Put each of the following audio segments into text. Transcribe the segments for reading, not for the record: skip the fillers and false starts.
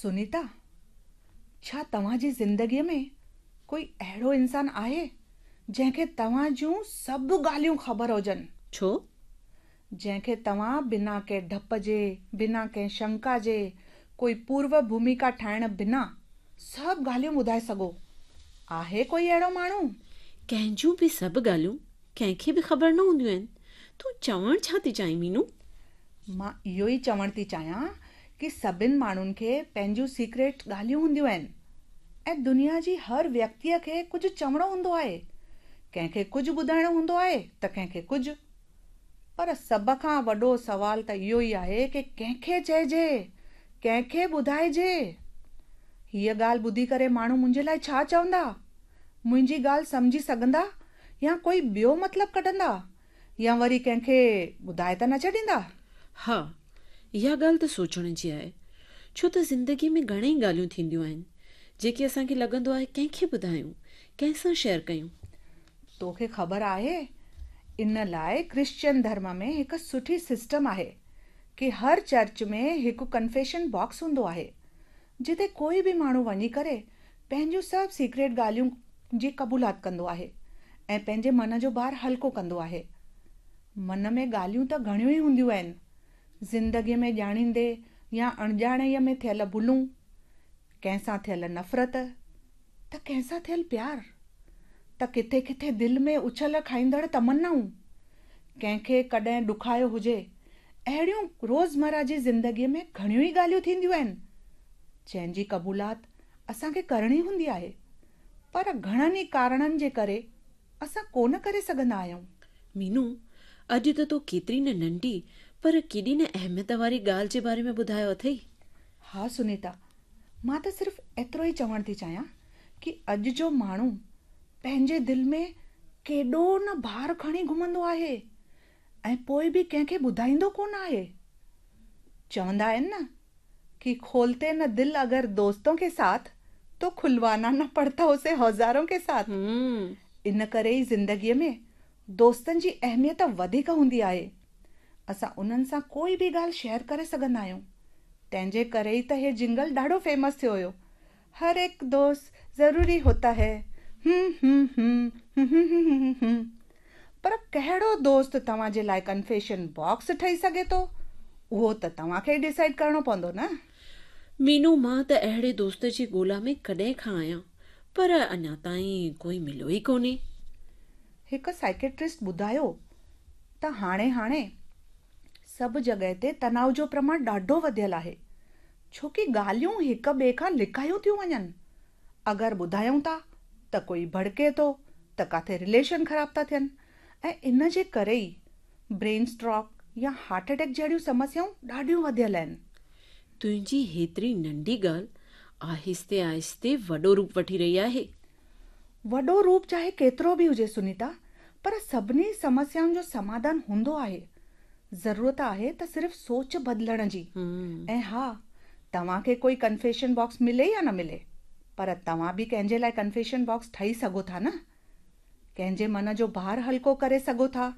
سنيتا، ڇا توهان جي زندگيء ۾ ڪوئي اهڙو انسان آهي، جنهن کي توهان جون سڀ ڳالهيون خبر هجن؟ ڇو؟ جنهن کي توهان بنا ڪنهن ڊپ جي، بنا ڪنهن شنڪا جي، ڪوئي پورو ڀوميڪا ٺاهڻ بنا سڀ ڳالهيون ٻڌائي سگهو. آهي ڪوئي اهڙو ماڻهو؟ ڪنهن جون به سڀ ڳالهيون ڪنهن کي به خبر نه هونديون آهن. تون چوڻ ڇا ٿي چاهين مينو؟ مان اهو ئي چوڻ ٿي چاهيان ڪي سڀن ماڻهن کي پنهنجون سيڪريٽ ڳالهيون هونديون آهن ۽ دنيا جي هر ويڪتيء کي ڪجهه چوڻو هوندو آهي. ڪنهن کي ڪجهه ٻڌائڻو هوندو آهي ته ڪنهن کي ڪجهه. پر سڀ کان وڏو سوال ته اهو ئي آهي ڪي ڪنهن کي چئجي؟ ڪنهن کي ٻڌائجي؟ هيء ڳالهه ٻڌي ڪري ماڻهو منهنجي لاء ڇا چوندا؟ منهنجي ڳالهه سمجهي سگهندا يا ڪوئي ٻيو مطلب ڪڍندا؟ يا وري ڪنهن کي ٻڌائي ته نه ڇڏيندا؟ ها، اها ڳالهه ته سوچڻ جي آهي. ڇو ته زندگيء ۾ گهڻئي ڳالهيون ٿينديون آهن، جيڪي اسان کي لڳندو آهي ڪنهن کي ٻڌايون، ڪنهن سان شيئر ڪيون. توکي خبر آهي، ان لاء ڪرسچن ڌرم ۾ هڪ سٺي سسٽم آهي ڪي هر چرچ ۾ هڪ ڪنفيشن باڪس هوندو آهي، جتي ڪوئي به ماڻهو وڃي ڪري پنهنجون سڀ سيڪريٽ ڳالهيون جي قبولات ڪندو آهي ۽ پنهنجي من جو بار هلڪو ڪندو آهي. من ۾ ڳالهيون ته گهڻيون ئي هونديون آهن. زندگيء ۾ ڄاڻيندي يا اڻڄاڻائيء ۾ ٿيل ڀلون، ڪنهن سان ٿيل نفرت ته ڪنهن سان ٿيل پيار، ته ڪٿي ڪٿي دل ۾ اڇل کائيندڙ تمنائون، ڪنهن کي ڪڏهن ڏکايو هجي، اهڙيون روزمره جي زندگيء ۾ گهڻيون ئي ڳالهيون ٿينديون آهن، جنهن جي قبولات اسان کي ڪرڻي هوندي آهي، پر گهڻن ئي ڪارڻن جي ڪري اسان ڪونه ڪري سگهندا آهيون. مينو، اڄ ته تو ڪيتري نه ننڍي پر ڪيڏي نه اهميت واري ڳالهه جي باري ۾ ٻڌايو اٿئي. ها سنيتا، مان ته صرف ايترو ئي چوڻ ٿي چاهيان ڪي اڄ جو ماڻهو پنهنجي دل ۾ ڪيڏو نه بار کڻي گهمندو آهي ۽ پوء به ڪنهن کي ٻڌائيندو ڪونه آهي. چوندا آهن نه ڪي کولتي نه دل اگر دوستون ڪي ساٿ تو کلوانا نه پڙتا اسي اوزارون ڪي ساٿ. ان ڪري ئي زندگيء ۾ دوستن جي اهميت وڌيڪ هوندي آهي. اسان انهن سان ڪوئي به ڳالهه شيئر ڪري سگهندا آهيون. تنهن جي ڪري ئي ته هي جنگل ڏاڍو فيمس ٿيو هيو. هر ايڪ دوست ضروري هوتا هي هم هم هم هم هم هم هم پر ڪهڙو دوست توهان جي لاء ڪنفيشن باڪس ٺهي سگهي ٿو، اهو ته توهان کي ئي ڊسائيڊ ڪرڻو پوندو نه. مينو مان ته اهڙي دوست جي ڳولا ۾ ڪڏهن کان آهيان، پر اڃا تائين ڪوئي مليو ئي ڪونهي. هڪ سائيڪيٽرسٽ ٻڌايو ته هاڻي هاڻي سڀ جڳهه تي تناء جو پرماڻ ڏاڍو وڌيل آهي، ڇو ڪي ڳالهيون هڪ ٻئي کان لڪايون ٿيون وڃن. اگر ٻڌايون ٿا ته ڪوئي ڀڙڪي ٿو ته ڪاٿي رليشن خراب ٿا ٿين ۽ ان جي ڪري ئي برين اسٽروڪ يا هارٽ اٽيڪ جهڙيون سمسيائون ڏاڍيون وڌيل آهن. تنهنجي هيتري ننڍي ڳالهه آهستي آهستي وڏو روپ وٺي رهي آهي. وڏو روپ چاهي ڪيترو به هجي سنيتا، پر سڀني سمسيائن جو سماڌان هوندو آهي. ضرورت آهي ته صرف سوچ بدلڻ جي. ۽ ها، توهان کي ڪوئي ڪنفيشن باڪس ملي يا نه ملي، پر توهان به ڪنهن جي لاء ڪنفيشن باڪس ٺهي سگهو ٿا نه؟ ڪنهن جي من جو بار هلڪو ڪري سگهو ٿا،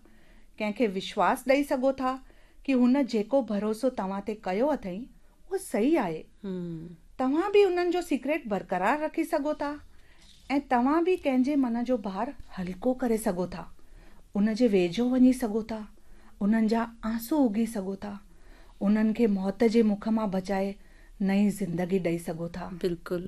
ڪنهن کي وشواس ڏئي سگهو ٿا ڪي هن جيڪو ڀروسو توهان تي ڪيو اٿئي، اهو صحيح آهي. توهان به انهن جو سيڪريٽ برقرار رکي سگهو ٿا ۽ توهان به ڪنهن جي من جو بار هلڪو ڪري سگهو ٿا، ان جي ويجهو وڃي سگهو ٿا، انهن جا آنسو اگهي سگهو ٿا، انهن کي موت جي مک مان بچائي نئين زندگي ڏئي سگهو ٿا. بلڪل.